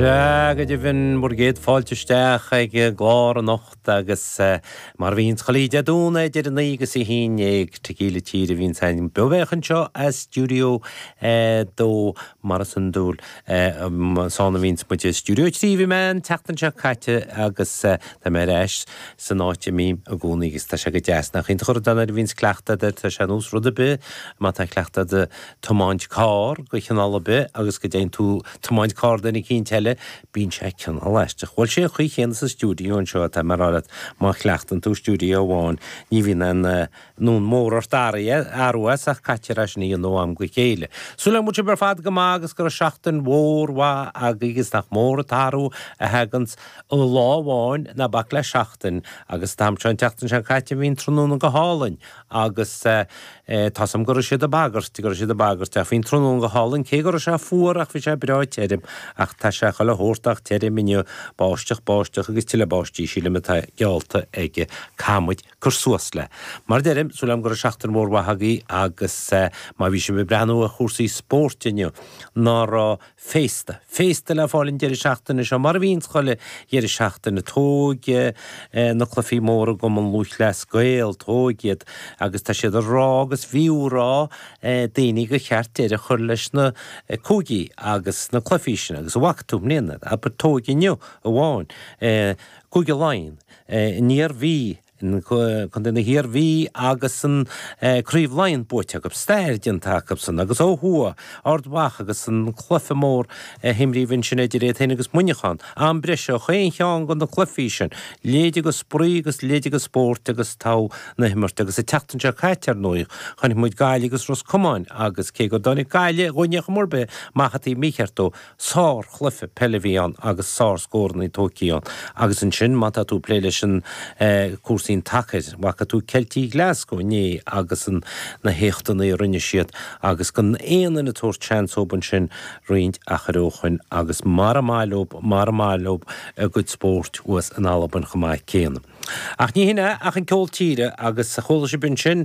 Sea, go deimhin, bhur gcéad fáilte isteach ag an gclár anocht agus mar a bhíonns chuile Dé Domhnaigh idir 9 agus 11, Tequila Tíre a bhíonns againn beo béach anseo as Stiúideo 2 mar is iondúil. Is ann a bhíonns muid i Stiúideo 3 bhí mé an tseachtain seo caite agus tá mé ar ais san áit a mbím i gcónaí agus tá sé go deas. Nach iontach an rud é nuair a bhíonns cleachtadh agat air, tá sé ar nós rud ar bith má tá cleachtadh agat tiomáint carr de chineál ar bith agus go dtéann tú tiomáint carr duine eicínt eile, bíonn sé cineál aisteach. Bhuel, sé an chaoi chéanna sa stiúideo anseo atá mé a rá leat, má chleachtann tú stiúideo amháin, ní bhíonn aon fhonn mór ort athrú as ach caitear é sin a dhéanamh ó am go chéile. Súil agam go bhfuil sibh ar fad go maith agus go raibh seachtain mhór mhaith agaibh agus nach mór an t-athrú a thaganns i lá amháin, ná bac le seachtain, agus an t-am seo an tseachtain seo caite bhí an tráthnóna go hálainn agus tá's a'm go raibh siad ag bagairt, go raibh siad ag bagairt ach bhí an tráthnóna go hálainn cé go raibh sé fuar ach bhí sé breá tirim ach tá sé chuile shórt ach tirim inniu, báisteach, báisteach agus tuilleadh báistí sílim atá geallta ag caithfidh muid cur suas le. Mar a deirim, súil agam go raibh seachtain mhór mhaith agaibh agus má bhí sibh ag breathnú ar chúrsaí spóirt inniu, ná raibh féasta. Féasta le fáil an deireadh seachtaine seo, mar a bhíonns chuile dheireadh seachtaine. Tóg na cluichí móra i gCumann Lúthchleas Gael, tóg iad agus tá siad ag rá agus bhíodh ag rá daoine gur cheart deireadh a chur leis na cúigí agus na cluichí sin agus an bhfaca tú i mbliana, abair tóg inniu amháin, Cúige Laighean, an Iarmhí, Contae na hIarmhí agus an Craobh Laighean buaite acu, stair déanta acusan agus ó thuaidh, Ard Mhacha agus an cluiche mór a himríodh ansin idir iad féin agus Muineachán, am breise chaon cheann de na cluichí sin, leithéide de spraoi agus leithéide de spórt agus togha na himirt agus an tseachtain seo caite ar ndóigh chonaic muid Gaillimh agus Ros Comáin agus cé go dtáinig Gaillimh dhúinn ar chuma ar bith amach an taobh mícheart dóibh Sár-chluiche peile a bhí ann agus sár-scórannaí tógtha ann. Agus ansin, má tá tú ag plé leis an cúrsaí an tsacair, bhfaca tú Ceiltigh Ghlasgow inné agus an na héachtannaí a rinne siad agus gan aon duine ag tabhairt seans dóibh ansin roinnt achair ó shoin agus mara maith leob, mara maith leob a gcuid spóirt thuas in Albain chomh maith céanna. Ach ní hin é ach an ceol tíre agus chuala sibh ansin.